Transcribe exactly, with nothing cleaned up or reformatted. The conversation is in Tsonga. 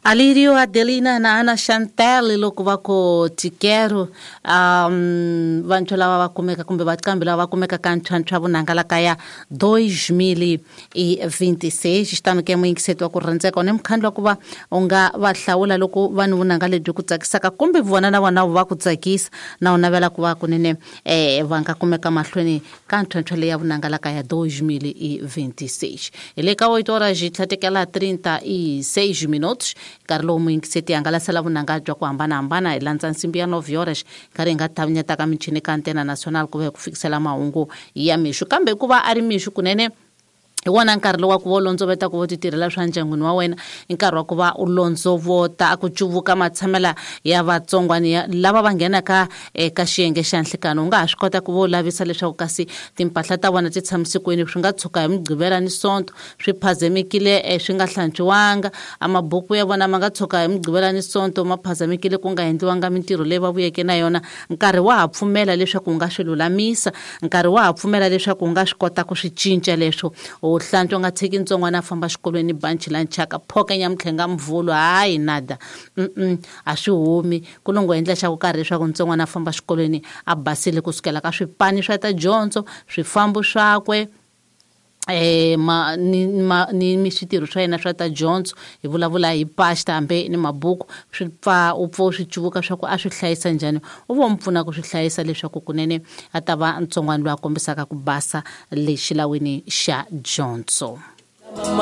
Alirio Adelina na Ana Chantel loko va ku tikero um vantshwa lava va kumeka kumbe vaqambi lava va kumeka ka ntlhantlha vunanga kaya dois mil e vinte e seis xitano ke muyingiseti wa ku rhandzeka ni mukhandlu wa ku va u nga va hlawula loko vanhu vunanga lebyi ku tsakisaka kumbe vona na vona va ku tsakisa na u navela ku va kunene eh va nga kumeka mahlweni ka ntlhantlha leya vunanga kaya dois mil e vinte e seis hi le ka oito horas e tlhatekela trinta e seis minutos nkarhi lowu muyingiseti hangalasela vunanga bya ku hambanahambana hi landza nsimbi ya nove horas nkarhi hi nga tavanyetaka michini ka Antena Nacional ku va hi ku fikisela mahungu ya mixo kambe ku va a ri mixo kunene hi wona nkarhi lowu wa ku va u londzoveta ku va u ti tirhela swa ndyangwini wa wena i nkarhi wa ku va u londzovota a ku cuvuka matshamela ya vatsongwani lava va nghenaka eka xiyenge xa nhlikano u nga ha swi kota ku va u lavisa leswaku kasi timpahla ta vona ti tshamise kwini swi nga tshuka hi mugqivela ni sonto swi phazemekile swi nga hlantswiwanga a mabuku ya vona ma nga tshuka hi mugqivela ni sonto ma phazemekile ku nga endliwanga mintirho leyi va vuyeke na yona nkarhi wa ha pfumela leswaku u nga swi lulamisa nkarhi wa ha pfumela leswaku u nga swi kota ku swi cinca leswo u hlantswa nga tshiki ntsongwana a famba xikolweni banchi la nchaka phokenya mtlhenga mvulu hayi nada mm a swi humi ku longo endla xa ku karhi leswaku ntsongwana a famba xikolweni a basile kusukela ka swipani swa ta dyondzo swifambo swakwe eh ma ni ma ni mi switirho swa yena swa ta dyondzo hi vulavula hi pasta hambi ni mabuku swi pfa u pfa u swi cuvuka swa ku a swi hlayisa njhani u vo mu pfuna ku swi hlayisa leswaku kunene a ta va ntsongwana loyi a kombisaka ku basa le xilawini xa dyondzo.